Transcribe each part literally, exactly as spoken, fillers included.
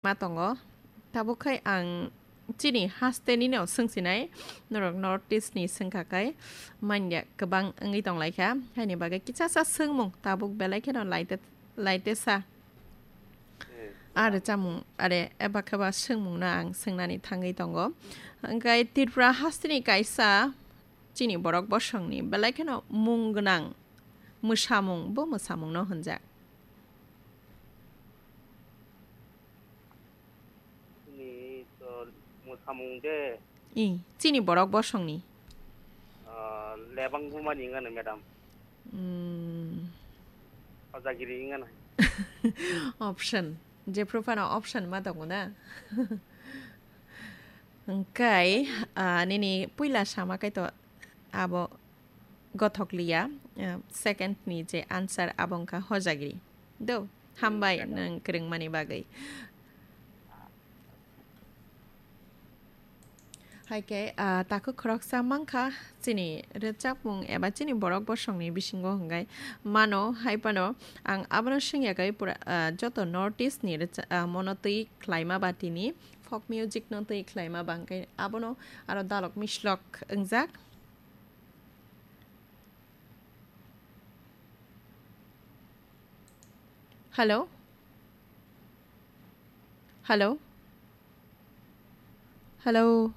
ma tongo. Tabuk khai ang chini haste nino swngsinai, norok North East ni swngkha khai manya kwbang wngwi tonglaikha. Haini bagwi kisasa swngmung tabuk belai kheno laite-, laitesa. Hmm. Are chamung, are eba kheba swngmungno ang swngnani thangwi tongo. Hwnkhe Tripura hasteni kaisa chini borok bosongni belai kheno mung gwnang mwsamung, bo mwsamungno hwnjak. Chini to mwsamung de. I, chini borok bosongni. Ah, lebang bumani wngano, madam. Hmm. Hojagiri wngano. Option. Jephru phano option ma tongo na? Hwnkhe, ah, nini puila sama khe to abo gothok liya, ah, second ni je answer abo wngkha hojagiri. Do, hambai. Hmm, nwng kwrwngmani bagwi. Hai khe, ah, takhuk khoroksa mankha chini rwchapmung eba chini borok bosongni bisingo hwnkhe mano, hai phano ang abono swngya khe pura, ah, joto North East ni rwcha-, ah, mono twi khlaima ba tini folk music no twi khlaima ba hwnkhe abono aro dalok mislok wngjak. Hello? Hello? Hello?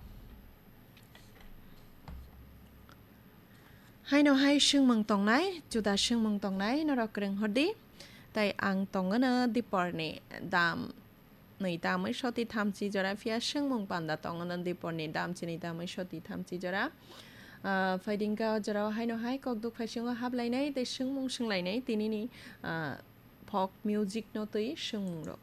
Haino hai swngmung tongnai, juda swngmung tongnai, norok kwrwng hordi. Tai ang tongwno diporni dam nwi tamwi soti thamchi jora, phiya swngmung panda tongwno diporni dam chini tamwi soti thamchi jora. Ah, phaidingka o jorao haino hai kokduk phaisingo hablainai tei swngmung swnglainai tinini, ah, folk music no twi swngmung rok.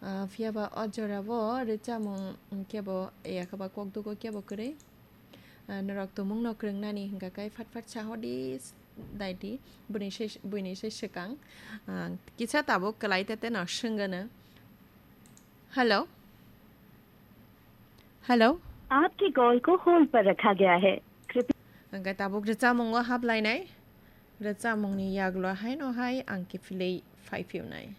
Ah, phiya ba o jora bo rwchapmung kebo yakhaba kokdugo kebo kwrwi. Ah, norok tumung no kwrwng nani hwnkha khe fat fat sa hodi s-, daidi buini se, buini se swkang. Ah, kisa tabuk kwlai tete no swngano. Hello? Hello? आपके कॉल को होल्ड पर रखा गया है। कृपया Hwnkhe tabuk rwchapmungo hablainai. Rwchapmungni yagulo haino hai ang kiphilwi phai phiyunai.